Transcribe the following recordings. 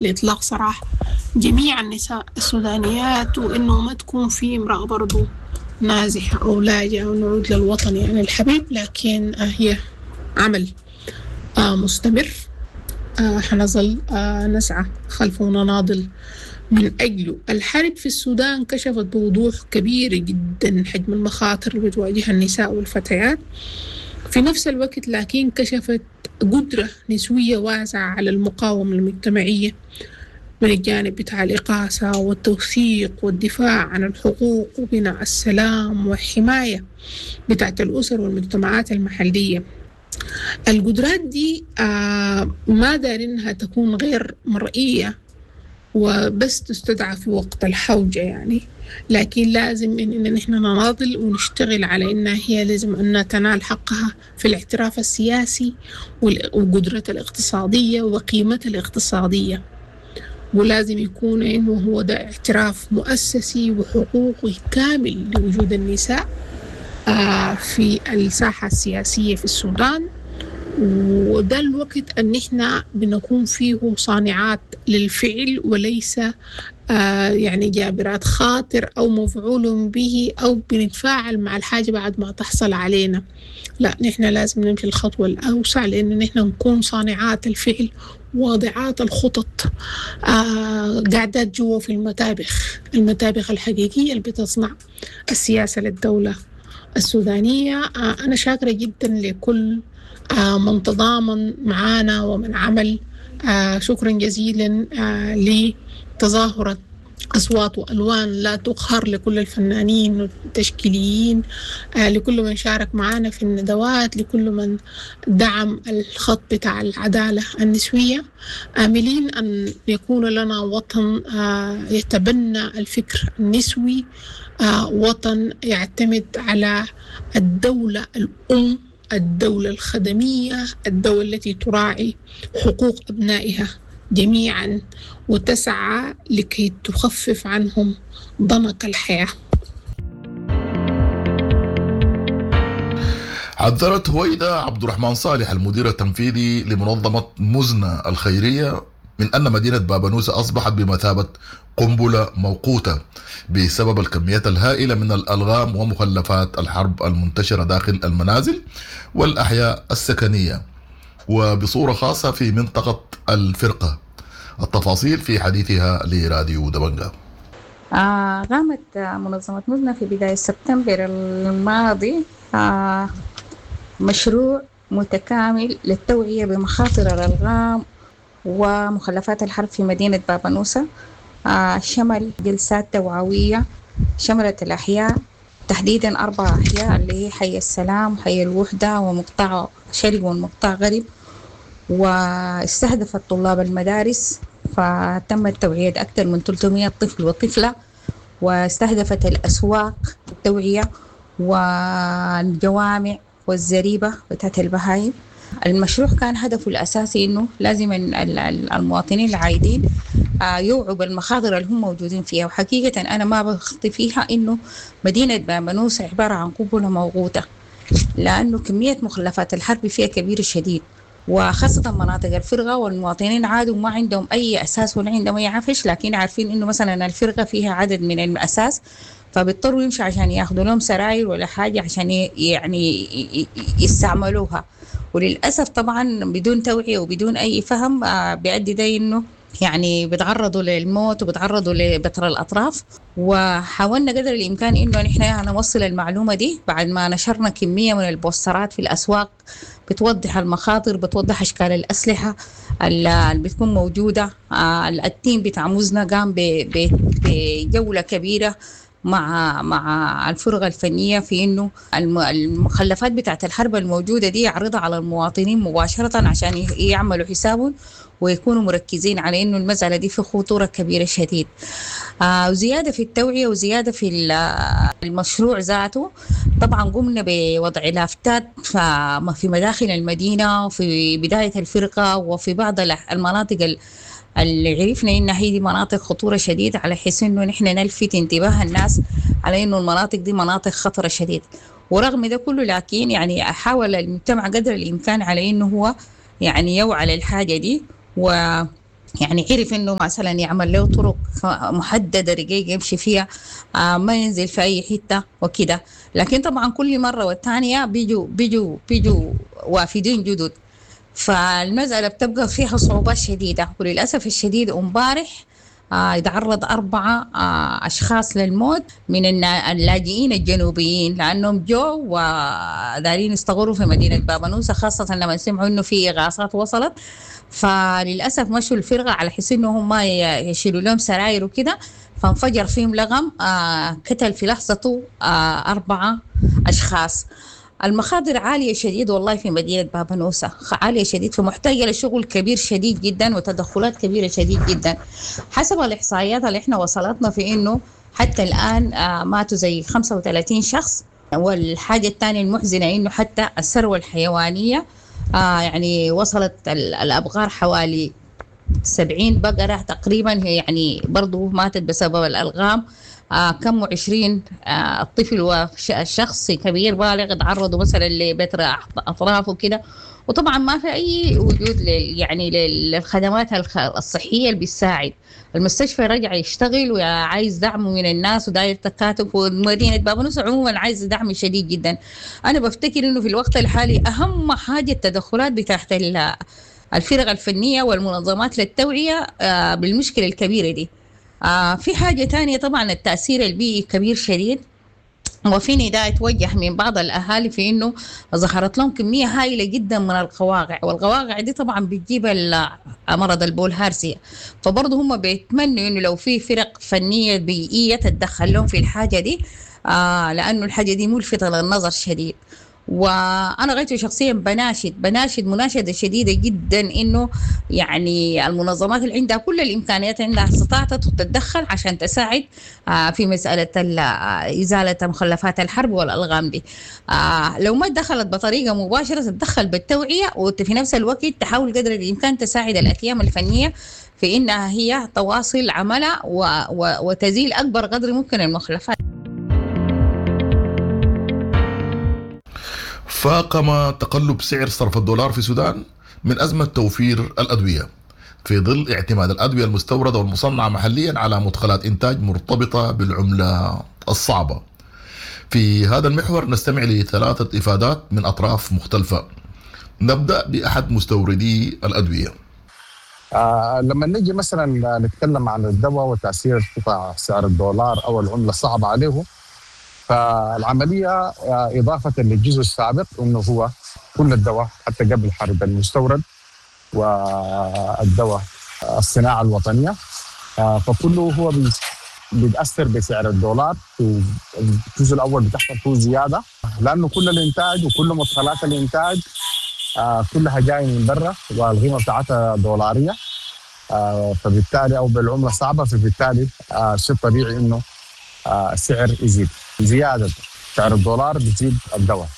لإطلاق سراح جميع النساء السودانيات، وإنه ما تكون في امرأة برضو نازحة أو لاجئة، ونعود للوطن يعني الحبيب. لكن هي عمل مستمر، حنظل نسعى خلفه ونناضل من أجله. الحرب في السودان كشفت بوضوح كبير جدا حجم المخاطر اللي بتواجهها النساء والفتيات في نفس الوقت، لكن كشفت قدرة نسوية واسعة على المقاومة المجتمعية من الجانب بتاع الإغاثة والتوثيق والدفاع عن الحقوق وبناء السلام والحماية بتاعت الأسر والمجتمعات المحلية. القدرات دي ما دارينها تكون غير مرئية وبس تستدعى في وقت الحوجة يعني، لكن لازم إن نحن نناضل ونشتغل على إنها هي لازم أنها تنال حقها في الاعتراف السياسي وقدرتها الاقتصادية وقيمتها الاقتصادية، ولازم يكون إنه هو ده اعتراف مؤسسي وحقوقي كامل لوجود النساء في الساحة السياسية في السودان. وده الوقت أن إحنا بنكون فيه صانعات للفعل وليس يعني جابرات خاطر أو مفعول به أو بنتفاعل مع الحاجة بعد ما تحصل علينا. لا، نحن لازم نمشي الخطوة الأوسع، لأن نحن نكون صانعات الفعل، واضعات الخطط، قاعدات جوا في المتابخ، المتابخ الحقيقية اللي بتصنع السياسة للدولة السودانية. أنا شاكرة جدا لكل من تضامن معنا ومن عمل. شكرا جزيلا لتظاهرة أصوات وألوان لا تقهر، لكل الفنانين والتشكيليين، لكل من شارك معنا في الندوات، لكل من دعم الخط بتاع العدالة النسوية، آملين أن يكون لنا وطن يتبنى الفكر النسوي، وطن يعتمد على الدولة الأم، الدولة الخدمية، الدولة التي تراعي حقوق أبنائها جميعا وتسعى لكي تخفف عنهم ضنك الحياة. حذرت هويدا عبد الرحمن صالح، المدير التنفيذي لمنظمة مزنة الخيرية، من أن مدينة بابنوسة أصبحت بمثابة قنبلة موقوتة بسبب الكميات الهائلة من الألغام ومخلفات الحرب المنتشرة داخل المنازل والأحياء السكنية، وبصورة خاصة في منطقة الفرقة. التفاصيل في حديثها لراديو دبنجا. قامت منظمة مزنة في بداية سبتمبر الماضي مشروع متكامل للتوعية بمخاطر الألغام ومخلفات الحرب في مدينة بابنوسة. شمل جلسات توعوية شملت الأحياء، تحديدا أربع أحياء اللي هي حي السلام، حي الوحدة، ومقطع شرق ومقطع غرب، واستهدفت طلاب المدارس، فتمت توعية أكثر من 300 طفل وطفلة، واستهدفت الأسواق التوعية والجوامع والزريبة بتاعت البهايم. المشروع كان هدفه الأساسي إنه لازم المواطنين العايدين يوعوا بالمخاطر اللي هم موجودين فيها. وحقيقة أنا ما بخطي فيها إنه مدينة بامنوس عبارة عن قنبلة موقوتة، لأنه كمية مخلفات الحرب فيها كبيرة شديد، وخاصة مناطق الفرقة، والمواطنين عادوا ما عندهم أي أساس ولا عندهم أي عفش، لكن عارفين إنه مثلا الفرقة فيها عدد من الأساس، فبيضطروا يمشوا عشان ياخذوا لهم سراير ولا حاجة عشان يعني يستعملوها. وللأسف طبعا بدون توعية وبدون أي فهم بيؤدي ده إنه يعني بيتعرضوا للموت وبيتعرضوا لبتر الأطراف. وحاولنا قدر الإمكان إنه نحن نوصل المعلومة دي بعد ما نشرنا كمية من البوسترات في الأسواق بتوضح المخاطر، بتوضح أشكال الأسلحة اللي بتكون موجودة. ال team بتاع مزنة قام بجولة كبيرة مع الفرقة الفنية في انه المخلفات بتاعت الحرب الموجودة دي يعرضها على المواطنين مباشرة عشان يعملوا حسابهم ويكونوا مركزين على انه المسألة دي في خطورة كبيرة شديد. وزيادة في التوعية وزيادة في المشروع ذاته، طبعا قمنا بوضع لافتات في مداخل المدينة وفي بداية الفرقة وفي بعض المناطق اللي عرفنا إنها هي دي مناطق خطورة شديدة، على حيث إنه نحن نلفت انتباه الناس على إنه المناطق دي مناطق خطرة شديد. ورغم ده كله لكن يعني حاول المجتمع قدر الإمكان على إنه هو يعني يوعى للحاجة دي. يعني عرف انه مثلا يعمل له طرق محددة رقيقه يمشي فيها، ما ينزل في اي حتة وكده. لكن طبعا كل مرة والثانية بيجوا وافدين جدد، فالمسألة بتبقى فيها صعوبات شديدة. وللأسف الشديد امبارح يتعرض 4 أشخاص للموت من اللاجئين الجنوبيين، لأنهم جو ودارين يستقروا في مدينة بابنوسة، خاصة لما سمعوا إنه في إغاثات وصلت. فللأسف مشوا الفرقة على حس إنهم ما يشيلوا لهم سراير وكده، فانفجر فيهم لغم قتل في لحظته 4 أشخاص. المخاطر عالية شديد والله في مدينة بابنوسة، عالية شديد، فمحتاجة لشغل كبير شديد جدا وتدخلات كبيرة شديد جدا. حسب الإحصائيات اللي احنا وصلتنا في إنه حتى الآن ماتوا زي 35 شخص. والحاجة الثانية المحزنة إنه حتى الثروة الحيوانية يعني وصلت الأبقار حوالي 70 بقرة تقريبا، هي يعني برضو ماتت بسبب الألغام. كم 20 الطفل وشخص كبير بالغ تعرضوا مثلا لبتر أطراف وكده. وطبعا ما في أي وجود يعني للخدمات الصحية اللي بتساعد. المستشفى رجع يشتغل وعايز دعم من الناس وداير تكاتف، ومدينة بابنوسة عموما عايز دعم شديد جدا. أنا بفتكر إنه في الوقت الحالي أهم حاجة التدخلات بتاعت الفرق الفنية والمنظمات للتوعية بالمشكلة الكبيرة دي. في حاجة تانية طبعا التأثير البيئي كبير شديد، وفي نداء توجه من بعض الأهالي في إنه ظهرت لهم كمية هائلة جدا من القواقع، والقواقع دي طبعا بتجيب مرض البولهارسيا. فبرضه هم بيتمنوا إنه لو في فرق فنية بيئية تتدخل لهم في الحاجة دي، لأنه الحاجة دي ملفتة للنظر شديد. وأنا غايته شخصيا بناشد مناشدة شديدة جدا إنه يعني المنظمات اللي عندها كل الإمكانيات عندها استطاعت تتدخل عشان تساعد في مسألة إزالة مخلفات الحرب والألغام دي. لو ما دخلت بطريقة مباشرة تتدخل بالتوعية، وفي نفس الوقت تحاول قدر الإمكان تساعد الأتيام الفنية في إنها هي تواصل عملها وتزيل أكبر قدر ممكن المخلفات. فاقم تقلب سعر صرف الدولار في السودان من أزمة توفير الأدوية في ظل اعتماد الأدوية المستوردة والمصنعة محليا على مدخلات إنتاج مرتبطة بالعملة الصعبة. في هذا المحور نستمع لثلاثة إفادات من أطراف مختلفة. نبدأ بأحد مستوردي الأدوية. لما نجي مثلا نتكلم عن الدواء وتأثير ارتفاع سعر الدولار أو العملة الصعبة عليه، فالعملية إضافة للجزء السابق أنه هو كل الدواء حتى قبل حرب المستورد والدواء الصناعة الوطنية، فكله هو بيتأثر بسعر الدولار. في الجزء الأول بتحصل فيه زيادة لأنه كل الإنتاج وكل مدخلات الإنتاج كلها جاية من برا والقيمة بتاعتها دولارية، فبالتالي أو بالعملة الصعبة، فبالتالي شيء طبيعي أنه السعر يزيد. زيادة سعر الدولار بتزيد الدواء.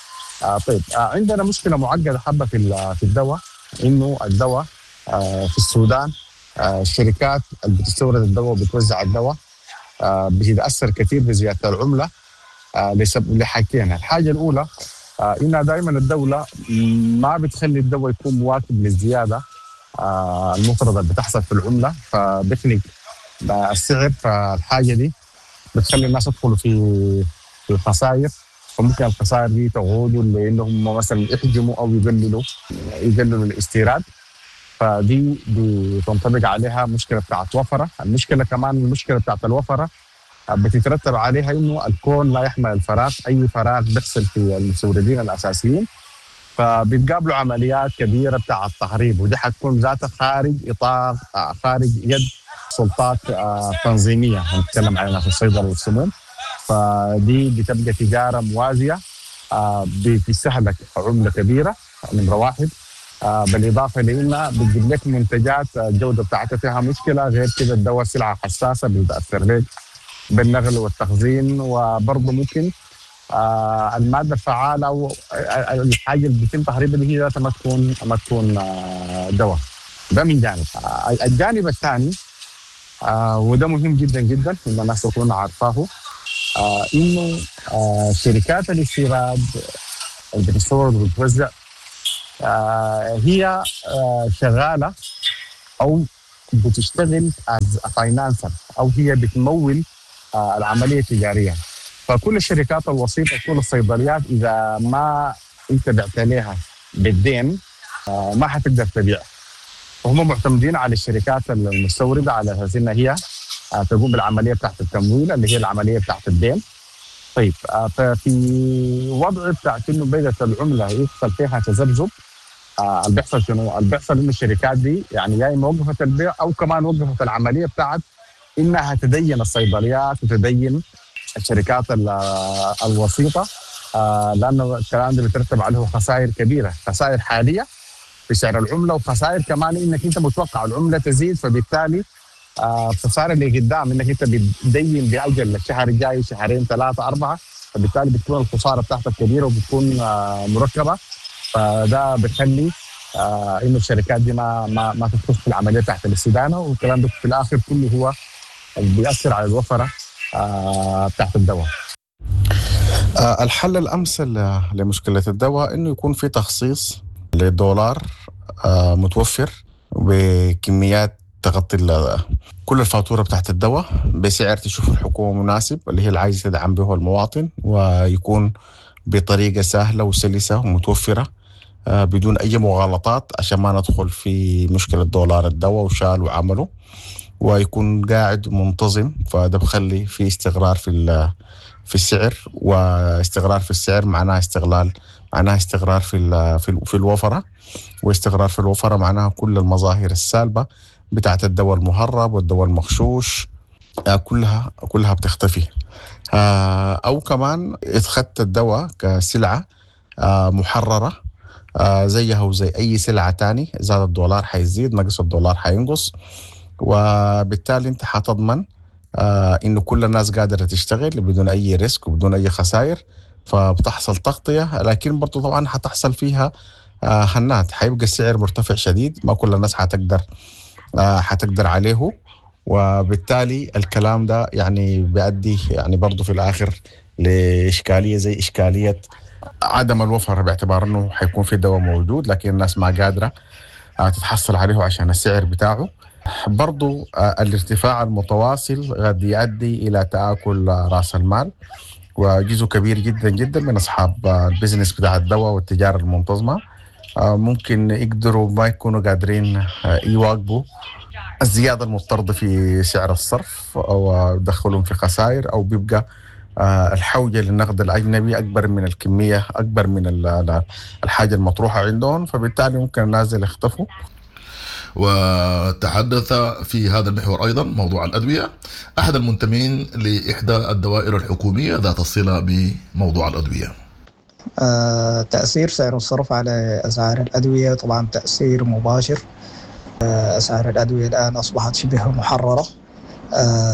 طيب عندنا مشكلة معقدة حبة في الدواء، إنه الدواء في السودان الشركات اللي بتستورد الدواء وبتوزع الدواء بتتأثر كثير بزيادة العملة لحاجتين. الحاجة الأولى إنها دائما الدولة ما بتخلي الدواء يكون مواكب للزيادة المفرطة اللي بتحصل في العملة، فبتخنق السعر. فالحاجة دي بتخلي الناس يدخلوا في الخسائر، فممكن الخسائر دي تعود لانهم مثلا يحجموا او يقللوا الاستيراد، فدي بتنطبق عليها مشكلة بتاعت وفرة. المشكلة كمان المشكلة بتاعت الوفرة بتترتب عليها انه الكون لا يحمل الفراغ، اي فراغ بيحصل في المستوردين الاساسيين، فبيتقابلوا عمليات كبيرة بتاعت تهريب، ودي حتكون ذاتها خارج اطار خارج يد سلطات تنظيميه، نتكلم عليها في الصيدله والسموم. فدي بتبقى تجارة موازية بتستهلك عمله كبيرة نمره واحد، بالاضافة لانها بتجيب لك منتجات الجودة بتاعتها فيها مشكلة. غير كده الدواء سلعه حساسة بتاثر لك بالنقل والتخزين، وبرضه ممكن المادة الفعالة او الحاجة اللي بيتم تهريبها اللي هي ذاتها ما تكون دواء. ده من جانب. الجانب الثاني وده مهم جدا جدا ان الناس تكون عارفاه، انه شركات الاستيراد اللي بتستورد وبتوزع هي شغالة او بتشتغل as financer او هي بتمول العملية التجارية. فكل الشركات الوسيطة، كل الصيدليات، اذا ما انت بعت لها بالدين ما حتقدر تبيع. فهم معتمدين على الشركات المستورده على اساس انها هي تقوم بالعملية بتاعت التمويل اللي هي العملية بتاعت الدين. طيب، ففي وضع بتاعت انه بدات العملة يحصل فيها تذبذب، اللي بيحصل شنو؟ اللي بيحصل انه الشركات دي يعني يا اما وقفت البيع او كمان وقفت العملية بتاعت انها تدين الصيدليات وتدين الشركات الوسيطة، لانه الكلام ده بيترتب عليه خسائر كبيرة، خسائر حالية في سعر العملة، وخسائر كمان انك انت متوقع العملة تزيد، فبالتالي خسارة اللي قدام انك انت بتدين باجل الشهر الجاي، شهرين، ثلاثه، اربعه، فبالتالي بتكون الخسارة بتاعتك كبيرة وبتكون مركبة. فده بيخلي انه الشركات دي ما تدخل في العملية بتاعت الاستدانه، والكلام ده في الاخر كله هو بيأثر على الوفرة بتاعت الدواء. الحل الامثل لمشكلة الدواء انه يكون في تخصيص للدولار متوفر بكميات تغطي كل الفاتورة بتاعت الدواء بسعر تشوف الحكومة مناسب، اللي هي اللي عايزه تدعم به المواطن، ويكون بطريقة سهلة وسلسه ومتوفره بدون اي مغالطات، عشان ما ندخل في مشكلة دولار الدواء وشال وعمله، ويكون قاعد منتظم. فده بخلي في استقرار في السعر، واستقرار في السعر معناها استغلال، معناها استقرار في الوفرة، واستقرار في الوفرة معناها كل المظاهر السالبه بتاعت الدواء المهرب والدواء المغشوش كلها بتختفي. او كمان اتخذت الدواء كسلعه محرره زيها وزي اي سلعه تاني، زاد الدولار حيزيد، نقص الدولار حينقص، وبالتالي انت حتضمن انه كل الناس قادرة تشتغل بدون اي risk وبدون اي خسائر، فبتحصل تغطيه. لكن برضو طبعا حتحصل فيها هنات، حيبقى السعر مرتفع شديد، ما كل الناس حتقدر عليه، وبالتالي الكلام ده يعني بيؤدي يعني برضو في الاخر لاشكاليه زي اشكالية عدم الوفرة، باعتبار انه حيكون في دواء موجود لكن الناس ما قادرة تتحصل عليه عشان السعر بتاعه. برضو الارتفاع المتواصل قد يؤدي الى تآكل راس المال، وجزء كبير جدا جدا من اصحاب ال business بتاع الدواء والتجارة المنتظمه ممكن يقدروا ما يكونوا قادرين يواكبوا الزيادة المضطردة في سعر الصرف، او يدخلهم في خسائر، او بيبقى الحوجه للنقد الاجنبي اكبر من الكمية، اكبر من الحاجة المطروحة عندهم، فبالتالي ممكن الناس يختفوا. وتحدث في هذا المحور أيضا موضوع الأدوية أحد المنتمين لإحدى الدوائر الحكومية ذات الصلة بموضوع الأدوية. تأثير سعر الصرف على أسعار الأدوية طبعا تأثير مباشر. أسعار الأدوية الآن أصبحت شبه محررة.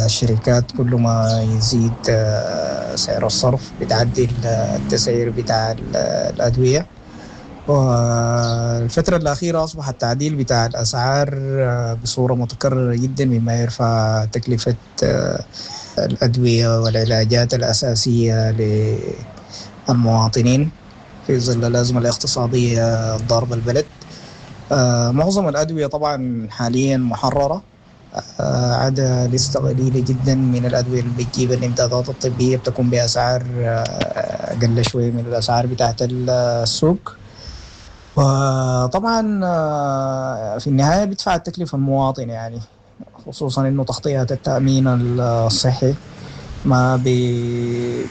الشركات كل ما يزيد سعر الصرف بتعدل التسعير بتاع الأدوية. والفترة الأخيرة أصبح التعديل بتاع الأسعار بصورة متكررة جدا، مما يرفع تكلفة الأدوية والعلاجات الأساسية للمواطنين في ظل الأزمة الاقتصادية الضاربة البلد. معظم الأدوية طبعا حاليا محررة، عدا لستة قليلة جدا من الأدوية اللي بتجيب الإمدادات الطبية بتكون بأسعار أقل شوية من الأسعار بتاعت السوق. وطبعا في النهاية بيدفع التكلفة المواطن، يعني خصوصا إنه تغطية التأمين الصحي ما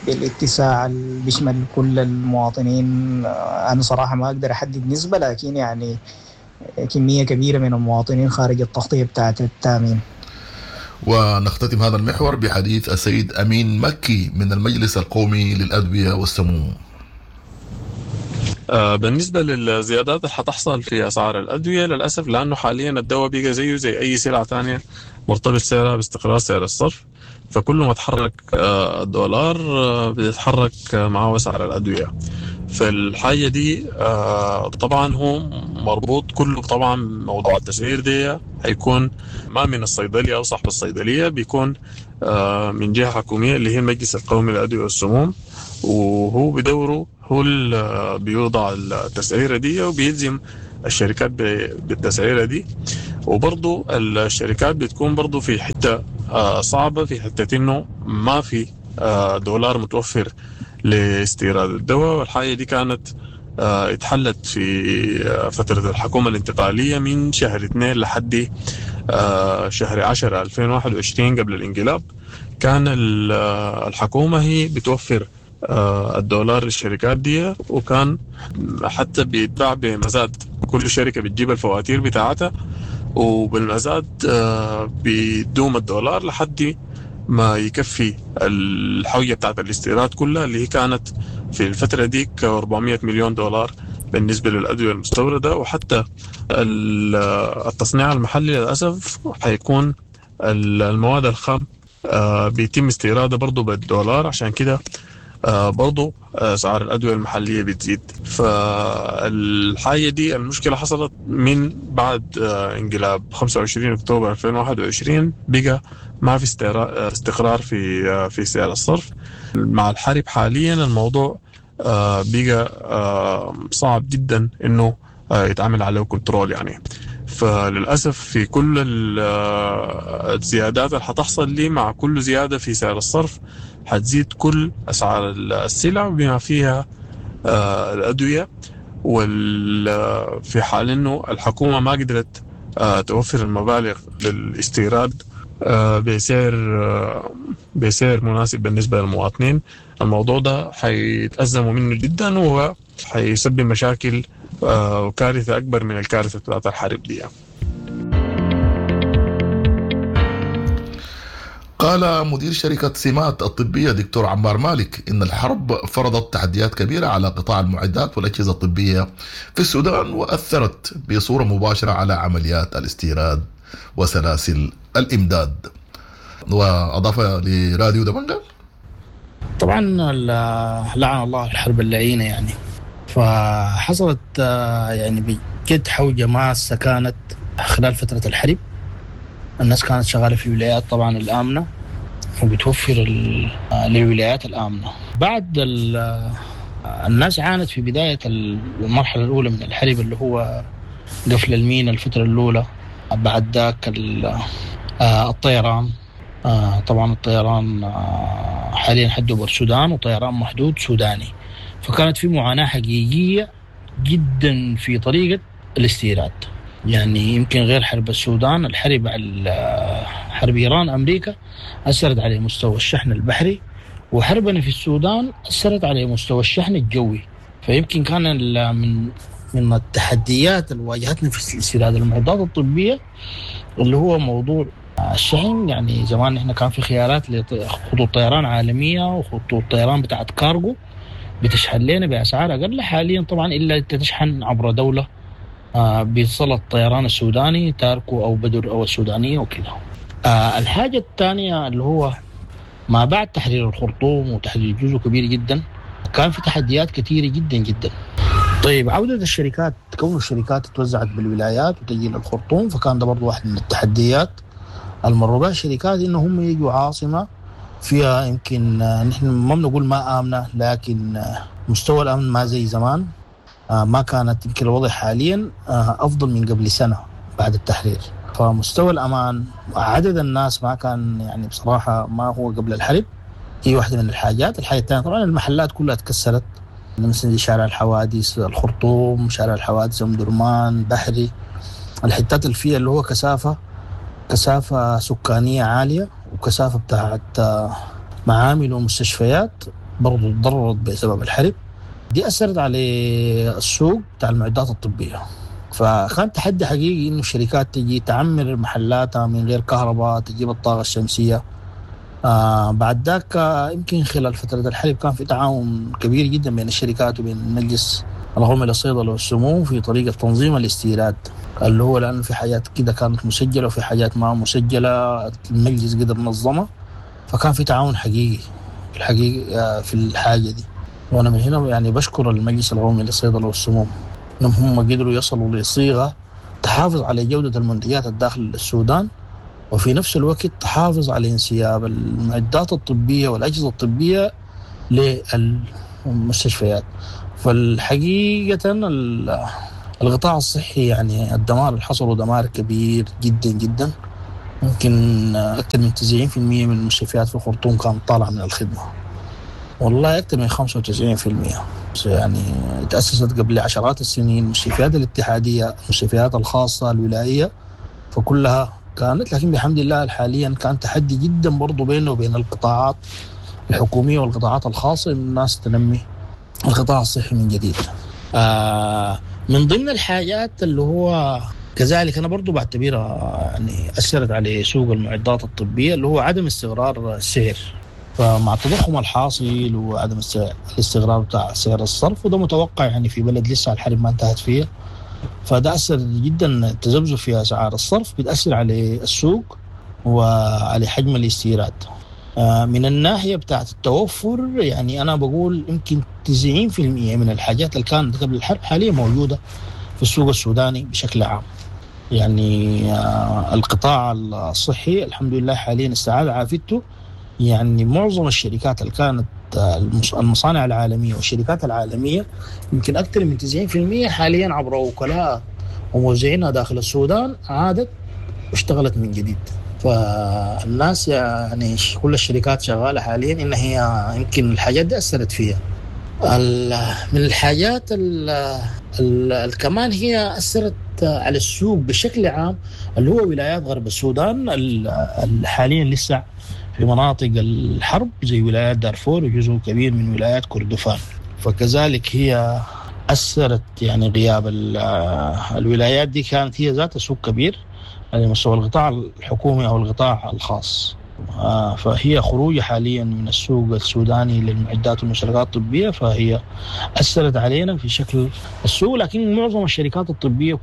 بالاتساع اللي بيشمل كل المواطنين. أنا صراحة ما أقدر أحدد نسبة، لكن يعني كمية كبيرة من المواطنين خارج التغطية بتاعت التأمين. ونختتم هذا المحور بحديث السيد أمين مكي من المجلس القومي للأدوية والسموم. بالنسبة للزيادات اللي حتحصل في أسعار الأدوية، للأسف لأنه حاليا الدواء بقى زيه زي أي سلعة ثانية مرتبط سعرها باستقرار سعر الصرف، فكل ما تحرك الدولار بيتحرك معه أسعار الأدوية. فالحاجة دي طبعا هو مربوط كله، طبعا موضوع التسعير دي هيكون ما من الصيدلية أو صاحب الصيدلية، بيكون من جهة حكومية اللي هي المجلس القومي للأدوية والسموم، وهو بدوره هو اللي بيوضع التسعيرة دي وبيلزم الشركات بالتسعيرة دي. وبرضو الشركات بتكون برضو في حتة صعبة، في حتة إنه ما في دولار متوفر لاستيراد الدواء. والحاجة دي كانت اتحلت في فترة الحكومة الانتقالية من شهر 2 لحد شهر 10 2021 قبل الانقلاب. كان الحكومة هي بتوفر الدولار للشركات دي، وكان حتى بيتباع بمزاد، كل شركة بتجيب الفواتير بتاعتها وبالمزاد بيدوم الدولار لحد ما يكفي الحوية بتاعت الاستيراد كلها اللي هي كانت في الفترة ديك 400 مليون دولار بالنسبة للأدوية المستوردة. وحتى التصنيع المحلي للأسف حيكون المواد الخام بيتم استيرادها برضو بالدولار، عشان كده برضو أسعار الأدوية المحلية بتزيد. فالحاجة دي المشكلة حصلت من بعد انقلاب 25 أكتوبر 2021، بقى ما في استقرار في سعر الصرف. مع الحرب حاليا الموضوع بقى صعب جدا إنه يتعمل عليه كنترول يعني. فللأسف في كل الزيادات اللي حتحصل لي مع كل زيادة في سعر الصرف حتزيد كل أسعار السلع بما فيها الأدوية. وفي حال إنه الحكومة ما قدرت توفر المبالغ للاستيراد بسعر مناسب بالنسبة للمواطنين، الموضوع ده حيتأزموا منه جدا وحيسبب مشاكل وكارثة أكبر من الكارثة بتاعت الحرب دي. قال مدير شركة سمات الطبية دكتور عمار مالك إن الحرب فرضت تحديات كبيرة على قطاع المعدات والأجهزة الطبية في السودان، وأثرت بصورة مباشرة على عمليات الاستيراد وسلاسل الإمداد. وأضاف لراديو دمنجل: طبعا لعن الله الحرب اللعينة يعني، فحصلت يعني بجد حوجة ماسة كانت خلال فترة الحرب. الناس كانت شغالة في الولايات طبعا الآمنة وبتوفر للولايات الآمنة. بعد الناس عانت في بداية المرحلة الأولى من الحرب اللي هو قفل المينا الفترة الأولى، بعد ذاك الطيران. طبعا الطيران حاليا حده السودان وطيران محدود سوداني، فكانت في معاناة حقيقية جدا في طريقة الاستيراد. يعني يمكن غير حرب السودان، الحرب على حرب إيران أمريكا أثرت على مستوى الشحن البحري، وحربنا في السودان أثرت على مستوى الشحن الجوي. فيمكن كان من التحديات اللي واجهتنا في استيراد المعدات الطبية اللي هو موضوع الشحن. يعني زمان احنا كان في خيارات لخطوط طيران عالمية وخطوط طيران بتاعت كارغو بتشحن لنا بأسعار أقل. حاليا طبعا إلا تشحن عبر دولة بيصل الطيران السوداني تاركو أو بدر أو السودانية وكده. الحاجة الثانية اللي هو ما بعد تحرير الخرطوم وتحرير جزء كبير جدا كان في تحديات كثيرة جدا جدا. طيب عودة الشركات، كون الشركات توزعت بالولايات وتجي للخرطوم، فكان ده برضو واحد من التحديات المروا بها الشركات، إنه هم يجوا عاصمة فيها يمكن نحن ما بنقول ما آمنة، لكن مستوى الأمن ما زي زمان. ما كانت يمكن الوضع حاليا أفضل من قبل سنة بعد التحرير. فمستوى الأمان عدد الناس ما كان يعني بصراحة ما هو قبل الحرب. هي واحدة من الحاجات. الحاجة الثانية طبعا المحلات كلها تكسرت، مثلا شارع الحوادث الخرطوم، شارع الحوادث أم درمان، بحري، الحتات اللي فيها اللي هو كثافة سكانية عالية وكثافة بتاعت معامل ومستشفيات برضو تضررت بسبب الحرب دي، أثرت على السوق بتاع المعدات الطبية. فكان تحدي حقيقي إنه الشركات تجي تعمر محلاتها من غير كهرباء، تجيب الطاقة الشمسية. بعد ذاك يمكن خلال فترة الحرب كان في تعاون كبير جدا بين الشركات وبين المجلس القومي للصيدلة والسموم في طريقة تنظيم الاستيراد، اللي هو لأنه في حاجات كده كانت مسجلة وفي حاجات ما مسجلة، المجلس قدر نظمها. فكان في تعاون حقيقي في الحقيقة في الحاجة دي. وأنا من هنا يعني بشكر المجلس القومي للصيدلة والسموم إنهم هم قدروا يصلوا لصيغة تحافظ على جودة المنتجات الداخل السودان، وفي نفس الوقت تحافظ على انسياب المعدات الطبية والأجهزة الطبية للمستشفيات. فالحقيقة القطاع الصحي يعني الدمار اللي حصل دمار كبير جدا جدا، ممكن أكثر من 90% من المستشفيات في الخرطوم كانت طالعة من الخدمة، والله أكثر من 95%. يعني تأسست قبل عشرات السنين المستشفيات الاتحادية، المستشفيات الخاصة الولائية، فكلها كانت، لكن بحمد الله حاليا كان تحدي جدا برضو بينه وبين القطاعات الحكومية والقطاعات الخاصة إن الناس تنمي القطاع الصحي من جديد. من ضمن الحاجات اللي هو كذلك أنا برضو بعتبرها يعني أثرت على سوق المعدات الطبية اللي هو عدم استقرار السعر. فمع التضخم الحاصل وعدم الاستقرار بتاع سعر الصرف، وده متوقع يعني في بلد لسه الحرب ما انتهت فيه، فده أثر جدا. التذبذب في أسعار الصرف بتأثر على السوق وعلى حجم الاستيراد. من الناحية بتاعت التوفر يعني أنا بقول يمكن 90% من الحاجات اللي كانت قبل الحرب حاليا موجودة في السوق السوداني بشكل عام. يعني القطاع الصحي الحمد لله حاليا استعاد عافيته. يعني معظم الشركات اللي كانت المصانع العالمية والشركات العالمية يمكن أكثر من 90% حاليا عبر وكلاء وموزعينها داخل السودان عادت واشتغلت من جديد. فالناس يعني كل الشركات شغالة حاليا إن هي يمكن الحاجات دي أثرت فيها. من الحاجات كمان هي أثرت على السوق بشكل عام اللي هو ولايات غرب السودان حاليا لسه في مناطق الحرب زي ولايات دارفور وجزء كبير من ولايات كردفان. فكذلك هي أثرت يعني غياب الولايات دي كانت هي ذات سوق كبير على مستوى القطاع الحكومي أو القطاع الخاص. فهي خروج حاليا من السوق السوداني للمعدات والمشتركات الطبية، فهي أثرت علينا في شكل السوق. لكن معظم الشركات الطبية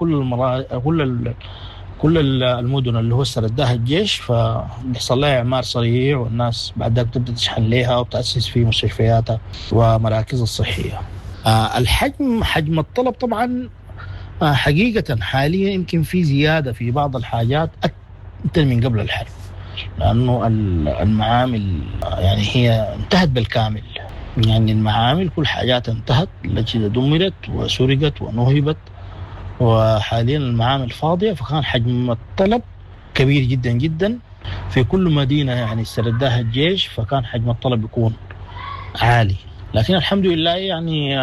كل المدن اللي هو استرداها الجيش فبيحصل لها إعمار سريع، والناس بعد ذاك بتبدأ تشحن لها وبتأسس في مستشفياتها ومراكزها الصحية. الحجم حجم الطلب طبعا حقيقة حاليا يمكن في زيادة في بعض الحاجات أكثر من قبل الحرب، لأنه المعامل يعني هي انتهت بالكامل. يعني المعامل كل حاجات انتهت، الأجهزة دمرت وسرقت ونهبت، وحاليا المعامل فاضية. فكان حجم الطلب كبير جدا جدا في كل مدينة يعني استرداها الجيش، فكان حجم الطلب يكون عالي. لكن الحمد لله يعني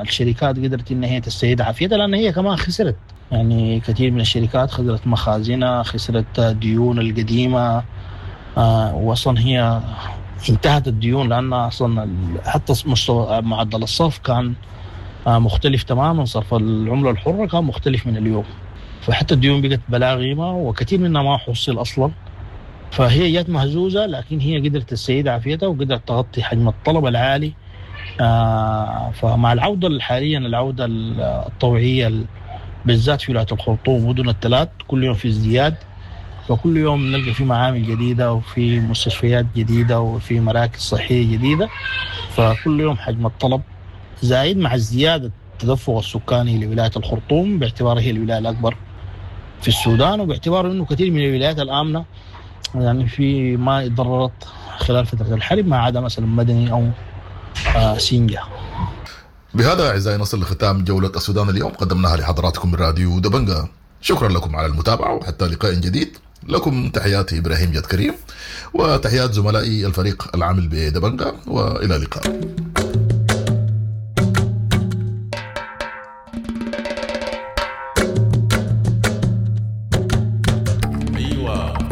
الشركات قدرت ان هي تستعيد عافيتها، لان هي كمان خسرت يعني كثير من الشركات خسرت مخازنها، خسرت ديون القديمة، واصلا هي انتهت الديون لان اصلا حتى مستوى معدل الصرف كان مختلف تماما، صرف العملة الحرة كان مختلف من اليوم، فحتى الديون بقت بلا قيمة وكثير منها ما حصل اصلا. فهي جت مهزوزة، لكن هي قدرت تستعيد عافيتها وقدرت تغطي حجم الطلب العالي. فمع العودة حاليا، العودة الطوعية بالذات في ولاية الخرطوم مدن الثلاث كل يوم في ازدياد، فكل يوم نلقى في معامل جديدة وفي مستشفيات جديدة وفي مراكز صحية جديدة، فكل يوم حجم الطلب زايد مع ازدياد التدفق السكاني لولاية الخرطوم باعتبارها هي الولاية الأكبر في السودان، وباعتبار أنه كثير من الولايات الآمنة يعني في ما تضررت خلال فترة الحرب ما عدا مثلا مدني أو سينجا. بهذا أعزائي نصل لختام جولة السودان اليوم قدمناها لحضراتكم من راديو دبنجا. شكرا لكم على المتابعة وحتى لقاء جديد. لكم تحياتي إبراهيم جد كريم وتحيات زملائي الفريق العامل بدبنجا، وإلى اللقاء.